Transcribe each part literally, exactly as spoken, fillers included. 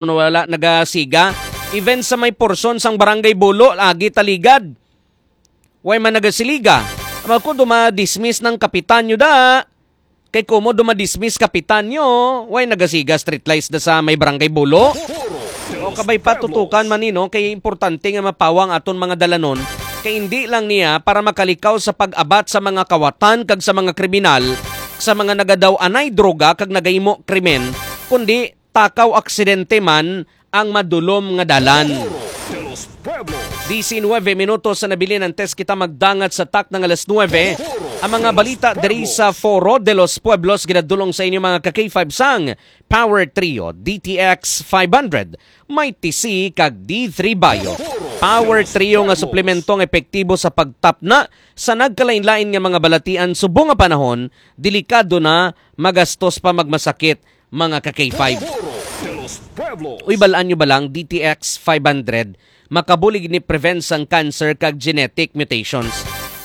no, wala nagasiga. Even sa may porsyon sang Barangay Bulo, agi taligad. Way man nagasiliga. Amo ko, dumadismiss ng kapitan nyo da. Kay kumo dumadismiss kapitan nyo, way nagasiga street lights da sa may Barangay Bulo. O kabay pa, tutukan man ni, no, kay importante nga mapawa ang aton mga dalanon. Kay hindi lang niya para makalikaw sa pag-abat sa mga kawatan kag sa mga kriminal, sa mga nagadaw-anay droga kag nagahimo krimen, kundi takaw aksidente man ang madulom nga dalan. Diecinueve minutos sa nabilin ang test kita magdangat sa tak ng alas nuebe. Ang mga balita diri sa Foro de los Pueblos ginadulong sa inyo, mga ka K five, sang Power Trio, D T X five hundred, Mighty C kag D three Bayo. Power Trio nga suplemento nga epektibo sa pagtapna sa nagkalain-lain nga mga balatian subong nga panahon, delikado na, magastos pa, magmasakit, mga ka K five. Uy, balaan nyo ba lang, D T X five hundred makabulig ni prevent sang cancer kag genetic mutations.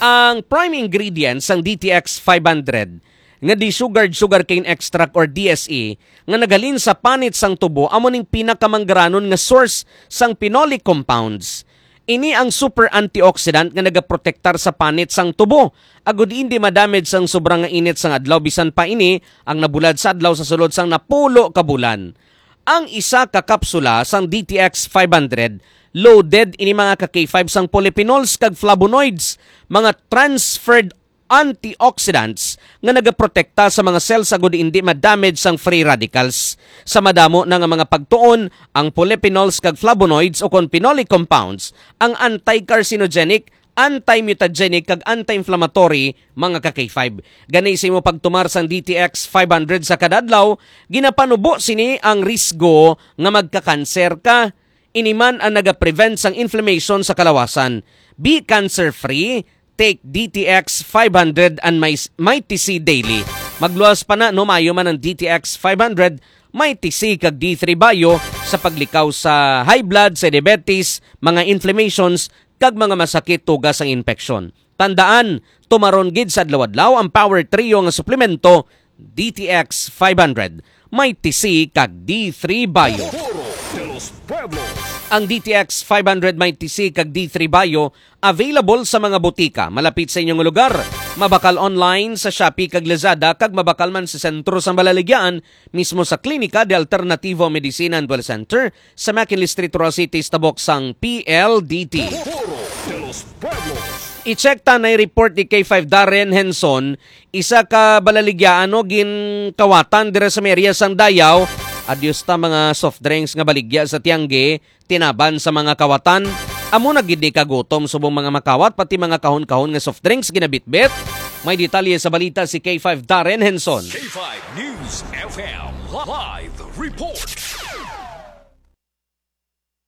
Ang prime ingredients sang D T X five hundred nga di-sugared sugarcane extract or D S E nga naghalin sa panit sang tubo amo ning pinakamangaranon nga source sang phenolic compounds. Ini ang super antioxidant nga nagaprotektar sa panit sang tubo, agud hindi madamage sang sobra nga init sang adlaw, bisan pa ini ang nabulad sa adlaw sa sulod sang napulo ka bulan. Ang isa ka kapsula sang D T X five hundred loaded ini, mga ka K five, sang polyphenols kag flavonoids, mga transferred antioxidants nga nagaprotekta sa mga cells agud hindi ma-damage sang free radicals. Sa madamo na nga mga pagtuon, ang polyphenols kag flavonoids, o kon phenolic compounds, ang anti-carcinogenic, anti-mutagenic, kag anti-inflammatory, mga ka K five. Gani, sa imo pagtumar sang D T X five hundred sa kada adlaw, ginapanubo sini ang risgo nga magka-cancer ka. Ini man ang nagaprevent sang inflammation sa kalawasan. Be cancer-free, take D T X five hundred and My-, Mighty C daily. Magluwas pa na, no, maayo man ang D T X five hundred, Mighty C kag D three Bayo sa paglikaw sa high blood, sa diabetes, mga inflammations, kag mga masakit tuga sang impeksyon. Tandaan, tumaron gid sa adlaw-adlaw ang Power Trio nga suplemento, D T X five hundred, Mighty C kag D three Bayo. Ang D T X five hundred, Mighty C kag D three Bayo available sa mga butika malapit sa inyong lugar. Mabakal online sa Shopee kag Lazada, kag mabakal man sa sentro sa Balaligyaan, mismo sa Klinika de Alternativo Medicina and Wellness Center sa McKinley Street, Roxas City, sa tabok sang P L D T. I-check ta na report ni K five Darren Henson, isa ka balaligyaan, no, ginkawatan dira sa may area sang Dayaw. Adios ta, mga soft drinks nga baligya sa tiyangge, tinaban sa mga kawatan. Amo na gid ni kagutom subong mga makawat, pati mga kahon-kahon nga soft drinks ginabitbit. May detalye sa balita si K five Darren Henson. K five News F M live report.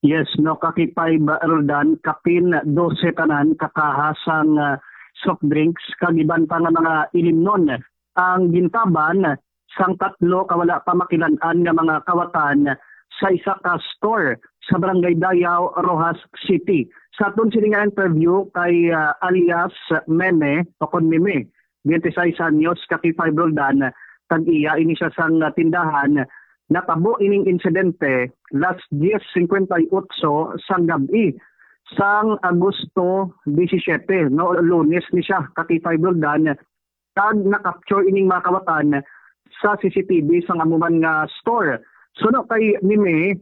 Yes, no, ka K five, Roldan, kapin dose tanan ka kaha sang, ah, soft drinks kag iban pa nga mga ilimnon ang gintaban sang tatlo ka wala pa makilan-an nga mga kawatan sa isa ka store sa Barangay Dayaw, Roxas City. Sa aton sini nga interview kay, ah, alias Meme o kon Meme, twenty-six anyos, ka K five Roldan, tag-iya ini siya sang tindahan. Natabo ining insidente las diez cincuenta y ocho sang gab-i sang Agosto disisiete, no, Lunes ni siya, ka K five Roldan, kag na-capture ining mga kawatan sa C C T V sang amo man nga store. Suno kay Meme,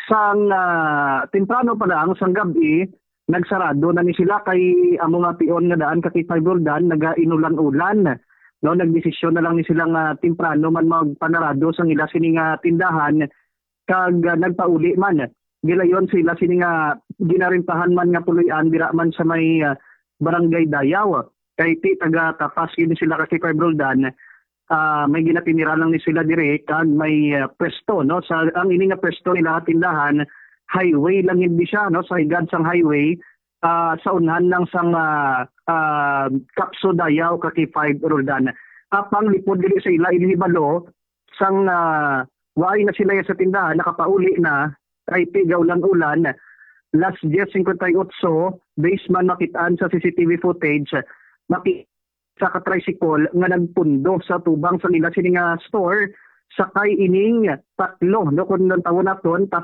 sang, ah, temprano pa lang sang gab-i, nagsarado na ni sila kay amo nga tion nga daan, ka K five Roldan, nagainulan-ulan. No, nagdesisyon na lang ni sila nga temprano man magpanarado sang ila sini nga tindahan kag, ah, nagpauli man. Gilayon sila sini nga ginarentahan man nga puloy-an dira man sa may, ah, Barangay Dayaw. Kay ti taga Kapas gid sila, ka K five Roldan, ah, may ginatinira lang ni sila diri kag may, ah, pwesto, no? Sa, ang ini nga pwesto nila, tindahan, highway lang hindi siya, no? Sa higad sang highway, ah, sa unhan lang sang, ah, ah, Kapso Dayaw, ka K five Roldan. Apang lipod diri sa ila, inhibalo sang, ah, waay na sila sa tindahan, nakapauli na, kay ti gaulan-ulan, las diez cincuenta y ocho, base man makit-an sa C C T V footage, maki-, sa ka tricycle nga nagpundo sa tubang sa nila sini nga store sakay ining tatlo, no, kung lantawon naton, tas